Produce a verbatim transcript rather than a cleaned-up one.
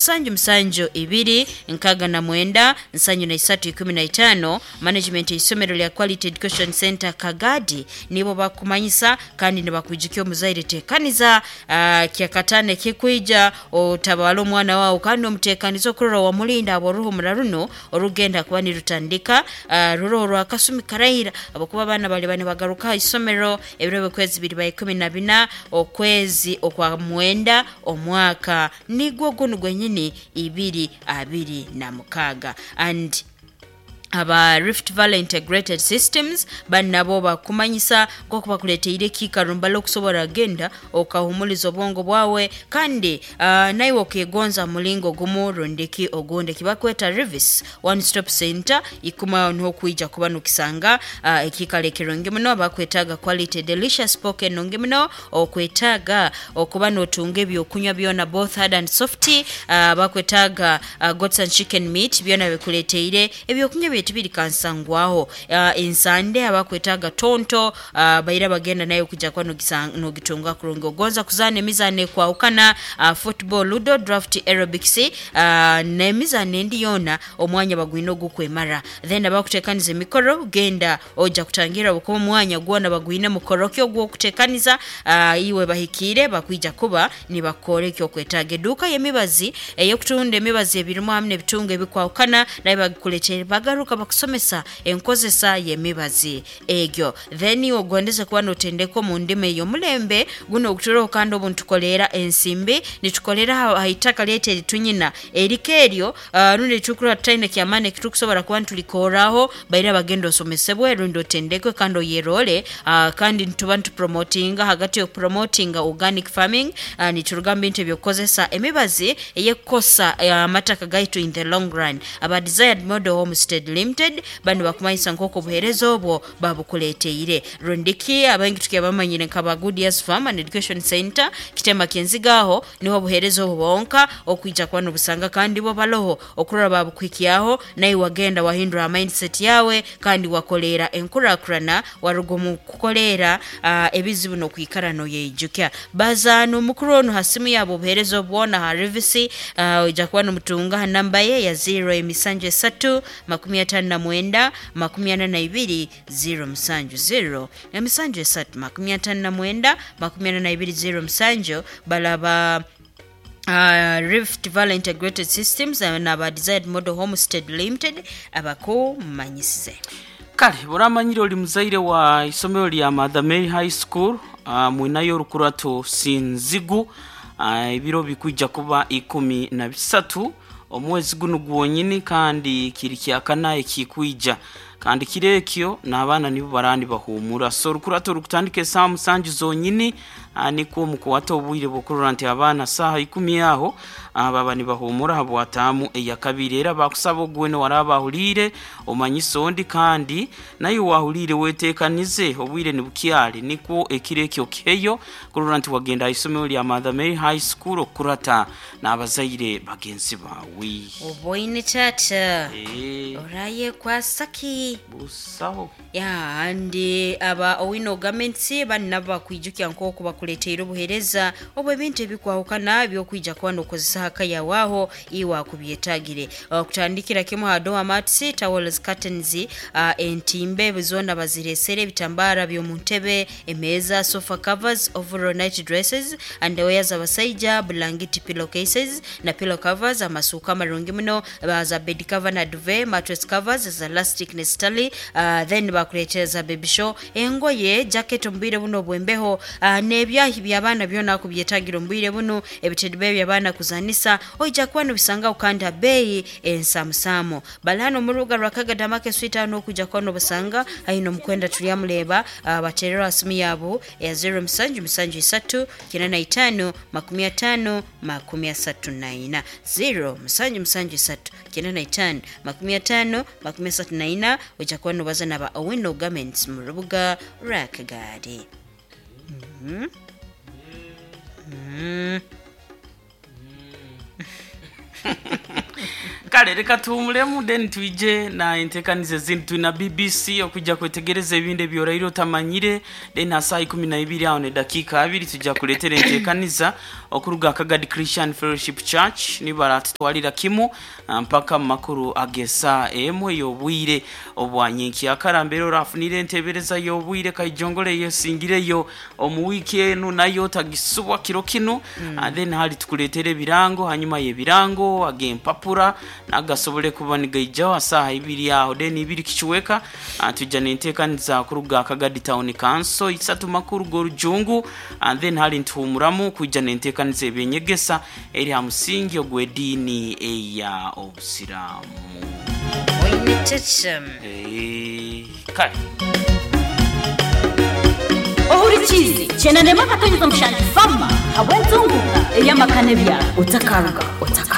Musanju musanju ibiri nkaga na mwenda nsanju na isatu ikumi na itano. Management y'isomero lya Quality Education Center Kagadi nibo bakumanyisa kandi nibakwijukia omuzaire tekaniza uh, kyakatane kikwija otabala omwana wawe kandi omutekaniza okurora wamulinda abo oruhumura runo orugenda kuba nirutandika uh, ruro rwakasumi karaira abakuba abana bali bane bagaruka isomero ebiro byokwezi biri ba ikumi na bina okwezi okwa mwenda omwaka nigwo guno gwenyini ibiri abiri na mukaga. And aba Rift Valley Integrated Systems banabo bakumanyisa nk'oku bakuleteire ekiikaro mbala okusobola genda okahumuliza obwongo bwawe kandi uh, naiwe okegonza mulingo gumu rundiki ogundi kibakweta Rivis One Stop Center ikuma n'okwija kuba nokisanga uh, ekiikaro ekirungi muno. Bakwetaaga quality delicious poke enungi muno, okwetaaga okuba notunga ebyokunywa byona both hard and soft. uh, bakwetaaga uh, goats and chicken meat byona bikuleteire ebyokunywa byetu biri kansangwaho. uh, ensande abakwetaaga tonto uh, baira bagenda nayo kujja kuba nogitunga kurungi. Ogonza kuzaana emizaano ekwahukana uh, football, ludo, draft, aerobics uh, n'emizaano endi yoona omwanya bagwine ogukwemara. Then abakutekaniza emikoro genda ojja kutangira bukuba omwanya gwona bagwine mukoro ki ogw'okutekaniza uh, iwe bahikiire bakwija kuba nibakora ekyokwetaaga. Eduuka y'emibazi ey'okutunda emibazi ebirimu hamu n'ebitungo ebikwahukana nayo bagikuletere bagaruka bakusomesa enkozesa y'emibazi egyo. Then ogondeze kuba notendeka omu ndimi ey'omulembe guno oguturoho kandi obu nitukolera ensimbi nitukolera ha itaka lyaitu eritunyina eriko eryo uh, rundi tukurora tutaine kyamaani ekitukusobola kuba nitulikoraho baira bagenda osomesebwe rundi otendekwe kandi oyerole. uh, kandi nituba nitupromotinga hagati y'okupromotinga organic farming uh, nituruga mu bintu ebyokukozesa emibazi eyekukosa amataka uh, gaitu in the long run. Aba Desired Model Homestead Limited bano bakumanyisa nk'oku obuheereza obwo babukuleteire rundiki abaingi tukibamanyire nkaba Good Years Farm and Education Center kitema kyenzigaho niho obuheereza obwo bonka okwija kuba nobusanga kandi bo baloho okurora babukuhikyaho naye wagenda wahindura mindset yawe kandi wakolera enkurakurana waruga omu kukolera uh, ebizibu n'okwikara noyeijukya. Bazaana omukuru onu ha simu yabo obuheereza obwona ha Rivisi uh, oija kuba nomutunga ha namba ye ya ziro emisanju esatu makumi atano na mwenda makumi ana na ibiri ziro musanju ziro emisanju esatu makumi atano na mwenda makumi ana na ibiri ziro musanju. Balaba Uh, Rift Valley Integrated Systems uh, n'aba Desired Model Homestead Limited abakumanyisize. Kale buramanyire oli muzaire wa isomero lya Mother Mary High School uh, mwinayo orukurato sinzigu uh, ebiro bikwija kuba ikumi na bisatu omwezi guno gwonyini kandi kiri kyakana ekikwija kandi kiro ekyo n'abaana nibo barandi bahumura. So orukurato rukutandika esaaha musanju zonyini uh, nikwo mukuwata obwire bw'okurora nti abaana saaha ikumi aho uh, baba nibahumura habwataamu eyakabiri. Era bakusaba ogwene waraba ahuliire omanyise ondi kandi naye wahuliire weteekanize obwire nibukyali nikwo ekiro ekyo kiheyo kurora nti wagenda aha isomero lya Mother Mary High School okukurata n'abazaire bagenzi bawe. Oboine tata Eh, oraye kwasaki busaho ya andi aba Owino Garments bani nabo bakwijukya nk'oku bakuleteire obuheereza obwo ebintu ebikwahukana byokwija kuba nokozesa haka yawe aho iwe akubyetagire. uh, kutandikira kimu ha door mats, towels, curtains, uh, entimbe zoona baziresere, ebitambara by'omu ntebe, emeeza, sofa covers, overall night dresses, underwear z'abasaija, bulangiti, pillowcases na pillow covers, amasuuka amarungi muno baza bed cover na duvet, mattress covers za elastic ne stali. uh, then bakuleetera za baby show, engoye, jacket omu bwire buno obwembeho, uh, n'ebyahi by'abaana byona akubyetagira omu bwire buno, ebitebe by'abaana kuzanisa oija kuba nobisangaho kandi ha beeyi ensamusamu. Bali hano omu rubuga rwa Kagadi Market Street aho n'okwija kuba nobasanga haine omukwenda turyamureba. uh, baterera ha simu yabo ya zero musanju musanju isatu kenda na itano makumi atano makumi asatu na ina zero musanju musanju isatu kenda na itano makumi atano makumi asatu na ina oija kuba nobaza naba Owino Garments mu rubuga rwa Kagadi. mm -hmm. Mm. Kale reka tuhumulemu, then twije na entekaniza ezindi. Twina B B C okujja kwetegereza ebindi ebyoraire otamanyire. Then ha saa ikumi na ibiri aho nedakiika abiri tujja kuleetera entekaniza okuruga Kagadi Christian Fellowship Church, nibaratutwalira kimu ah, mpaka mu makuru ag'esaa emu ey'obwire obwa nyenkyakara. Mbere orafunire entebereza y'obwire kaijongole yesingireyo omu wiiki enu, nayo tagisubwa kiro kinu mm. Then hali tukuleetera ebirango, hanyuma y'ebirango ag'empapura nagasobole kuba nigaijaho asaha ibiri aho. Then ibiri kikiweka ah, tujja nenteekaniza kuruga Kagadi Town Council, isatu makuru g'orujungu, and then hali ntuhumuramu kwijja nenteekaniza ebyenyegesa eri ha musingi ogw'ediini eya obusiraamu. Oine kyekyo. Eh, kale. Ohurikizi chenanema akatonyeza mushanju fama habw'entunguka ey'amaka n'ebyaro, otakaruga otakaruga.